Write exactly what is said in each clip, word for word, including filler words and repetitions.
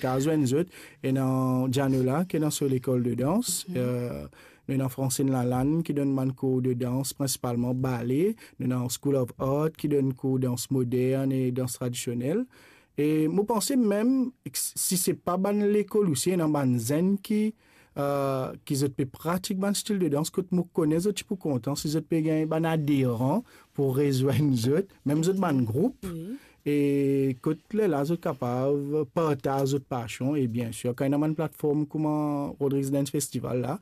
kapav zwenn zot, ena Dianola, ki ena so lekol de dans, mhm, eh, nou ena Francine Lalanne, ki donn bann kour de dans, prinsipalman bale, nou ena School of Art, ki donn kour dans modern e dans tradisionel. E mo panse mem, si se pa bann lekol osi, ena bann zenn ki, eh, ki zot pe pratik bann stil de dans, kot mo kone zot ti pou kontan si zot pe gagn bann aderan pou rezwenn zot, mem zot bann group. Wi. E kot lerla zot kapav partaz zot pasion, e biensir, kan ena bann platform kouma Rodrigues Dance Festival la,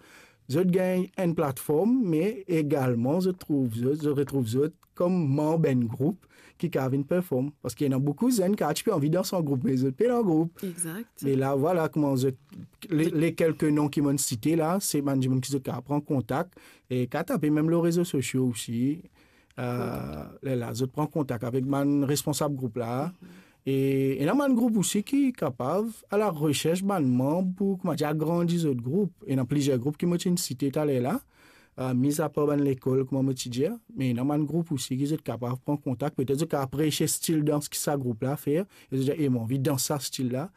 zot gagn enn platform, me egalman zot trouv zot, zot retrouv zot kom manb enn group ki kapav vinn perform. Parski ena boukou zenn ki ti pe anvi dans an group, me zot pena group. Exact. Me la, vwala kouma zot, le, le kelke non ki mo'nn site la, se bann dimoun ki zot kapav pran kontak, e kapav tape mem lor rezo sosio osi. Eh, lerla zot pran kontak avek bann responsab group la. Mhm. E ena bann group osi ki kapav al areserch bann manb pou, kouma dir, agrandi zot group. Ena plizier group ki mo ti finn site taler la, eh, mizapar bann lekol, kouma mo ti dir, me ena bann group osi ki zot kapav pran kontak, petet zot kapav apresie stil dans ki sa group la fer, e zot dir, "E, mo anvi dans sa stil la."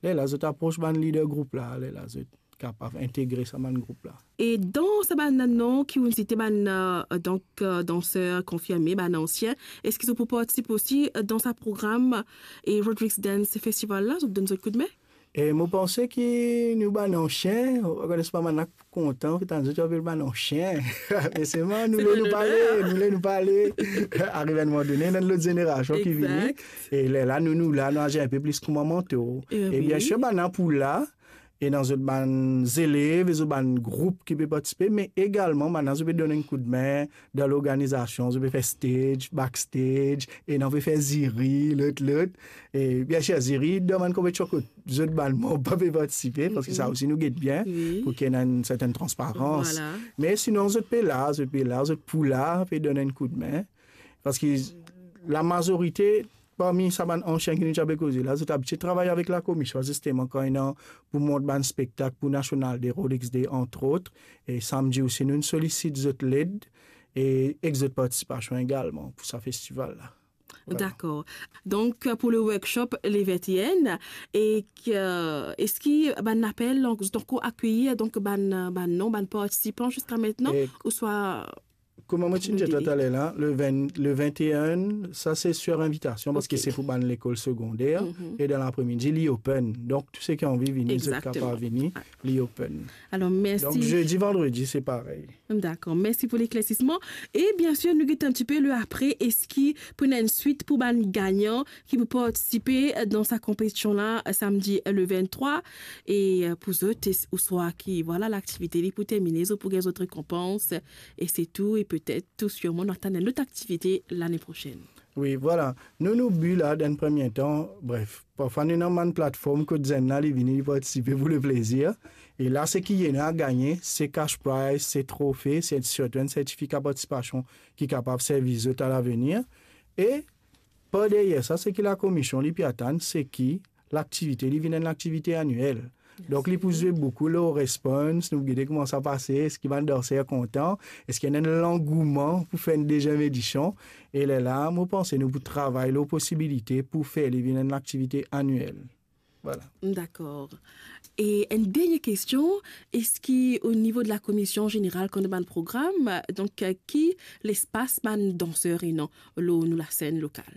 Lerla zot apros bann lider group la, lerla zot kapav integre sa bann group la. E dan sa bann non ki ou'nn site, bann, eh, donk, eh, danser konfirme, bann ansien, eski zot pou partisipe osi, eh, dan sa program, eh, Rodrigues Dance Festival la, zot donn zot koudme? E mo panse ki nou bann ansien, ou konn, pa bann la ki kontan, ki tann zot apel bann ansien. Me selman nou le nou pale, nou le nou pale. Ariv enn moman done, ena lot zenerasion ki vini. Exact. E lerla nou, nou la, nou azi enn pe plis kouma manto. Eh, e wi. Biensir, bann la pou la, ena zot bann zelev, e zot bann group ki pe partisipe, me egalman, bann la zot pe donn enn koudme dan lorganizasion, zot pe fer stage, backstage, ena pe fer ziri, lot, lot. E biensir, ziri dan bann konpetision kot zot bann manb pa pe partisipe, parski sa osi nou get bien, wi, pou ki ena enn sertenn transparans. Vwala. Me sinon, zot pe la, zot pe la, zot pou la, pe donn enn koudme. Parski lamazorite parmi sa bann ansien ki nou ti pe koze la, zot abitie travay avek lakomision, zisteman, kan ena pou mont bann spektak pou National Day, Rolex Day, entre autres. E samdi osi, nou solisit zot led e ek zot partisipasion egalman pou sa festival la. Vwala. Dakor. Donk, pou le workshop le vingt et un, e ke, eski bann apel, donk, zot ankor akeyi, donk, bann, bann non, bann partisipan ziska aster, e ouswa Kouma mo ti dir taler la, le vingt, le vingt et un, sa se sur invitasion, parski se pou bann lekol segonder, e dan lapremidi, li open. Donk, tou seki anvi vini, zot kapav vini, li open. Alor, mersi. Donk, zedi, vandredi, se parey. Dakor, mersi pou leklersisman. E biensir, nou get enn tipe le apre, eski pou ena enn swit pou bann gagnan ki pou partisipe dan sa konpetision la, samdi le vingt-trois, e, e, pou zot, e, ouswa ki, vwala, laktivite li pou termine, zot pou gagn zot rekonpans, e se tou, e petet, tou sirman, nou atann enn lot aktivite lane prosenn. Wi, vwala. Nou, nou bi la, dan premie tan, bref, parfwa nou ena bann platform kot zenn la, li vini, li partisipe pou leplezir. E la, seki ena a gagne, se cash prize, se trofe, se sirtou enn sertifika partisipasion ki kapav servi zot a lavenir. E par deryer sa, seki lakomision li pe atann, seki laktivite li vinn enn laktivite aniel. Donk, li pou zwe boukou lor response, nou gete kouma sa pase, eski bann danser kontan, eski ena enn langouman pou fer enn deziem edision. E lerla, mo panse nou pou travay lor posibilite pou fer li vinn enn laktivite aniel. Vwala. Dakor. E enn dernie kestion, eski o nivo de lakomision zeneral kan ena bann program, donk, ki lespas bann danser ena lor nou lasenn lokal?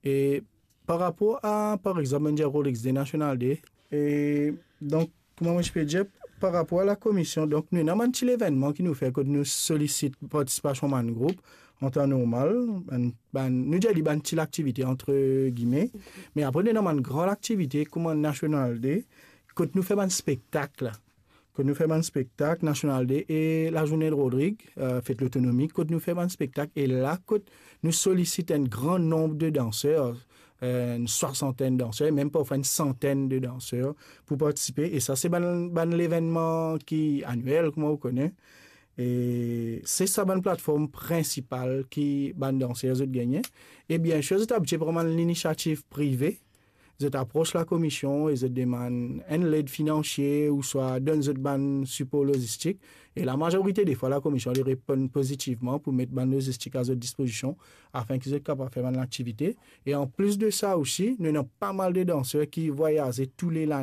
E par rapor a, par exanp, nou dir Rolex Day, National Day, e donk, kouma mo ti pe dir, par rapor a lakomision, donk, nou ena bann ti levennman ki nou fer kot nou solisit partisipasion bann group, an tan normal, bann, bann, nou dir li bann ti laktivite, antre gime, me apre, nou ena bann gran laktivite, kouma National Day, kot nou fer bann spektak la. Kot nou fer bann spektak, National Day, e Lazourne Rodrig, e, Fet Lotonomi, kot nou fer bann spektak, e la, kot nou solisit enn gran nonb de danser, e, enn swasantenn danser, mem parfwa enn santenn de danser pou partisipe. E sa, se bann, bann levennman ki aniel, kouma ou kone. E se sa bann platform prinsipal ki bann danser zot gagne. E biensir, zot abitie pran bann linisiativ prive, zot apros lakomision e zot demann enn led finansie ouswa donn zot bann sipor lozistik. E lamazorite defwa, lakomision li reponn pozitivman pou met bann lozistik a zot dispozision afin ki zot kapav fer bann laktivite. E anplis de sa osi, nou ena pa mal de danser ki vwayaze tou le lane.